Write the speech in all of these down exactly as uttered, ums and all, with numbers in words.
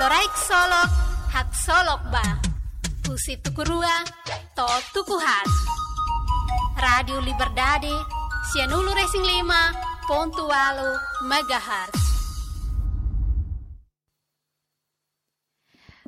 Loraik Solok, haksolok ba. Husi tuku rua to'o tuku haat. Rádiu Liberdade, sianulu-resin-lima pontu ualu megahertz.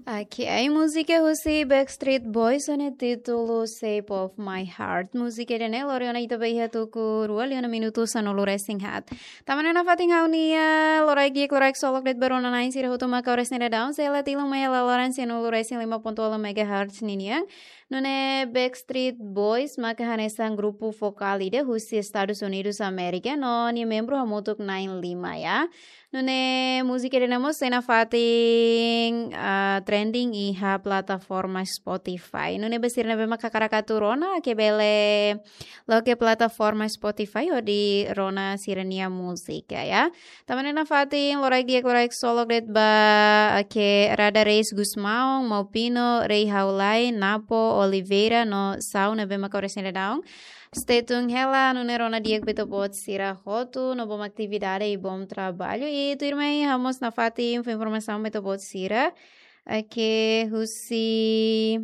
Oke, ai múzika husi Backstreet Boys ho nia títulu Shape of My Heart. Múzika ida-ne'e lori ona ita ba iha tuku rua liu ona minutu sanulu-resin-haat. Tanba ne'e nafatin ha'u-nia loraik di'ak, loraik solok de'it ba rona-na'in sira hotu mak ha'u resin dadaun, sei la tilun mai iha lalaran sianulu-resin-lima pontu ualu megahertz ninian. Nune'e Backstreet Boys maka hanesan grupu vokál ida husi Estadus Unidus Amérika, no nia membru hamutuk na'in-lima ya. Nune'e múzika ida-ne'e mós sei nafatin, ah, trending iha plataforma Spotify. Nune'e ba sira ne'ebé maka hakarak atu rona, ke bele loke plataforma Spotify hodi rona sira-nia múzika ya. Tanba ne'e nafatin loraik di'ak, loraik solok de'it ba, oke, Rada Reis Gusmão, Maupino, Rei Haulai, Napo, Oliveira, no Sau ne'ebé maka ha'u resin dadaun. Stay tune hela, nune'e rona di'ak ba ita-boot sira hotu, no bom atividade i bom trabalho. I tuirmai ha'u mós nafatin fó informasaun ba ita-boot sira. Oke, husi,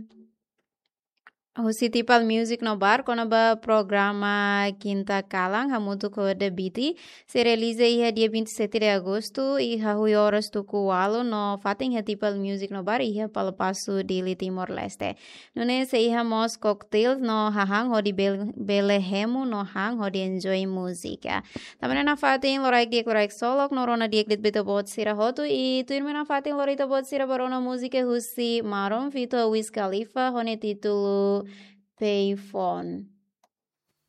husi Tipal Music no Bar, kona-ba programa Kinta Kalan, hamutuk ho The Biti. Sei realiza iha dia vinte e sete de agosto, iha oras tuku ualu, no fatin iha Tipal Music no Bar, iha Palapasu, Dili, Timor-Leste. Nune'e sei iha mós cocktails no hahán hodi bel-, bele hemu no han hodi enjoy múzika. Tanba ne'e nafatin loraik di'ak, loraik solok no rona di'ak de'it ba ita-boot sira hotu i tuirmai nafatin lori ita-boot sira ba rona múzika husi Maroon feat Wiz Khalifa ho nia títulu Payphone.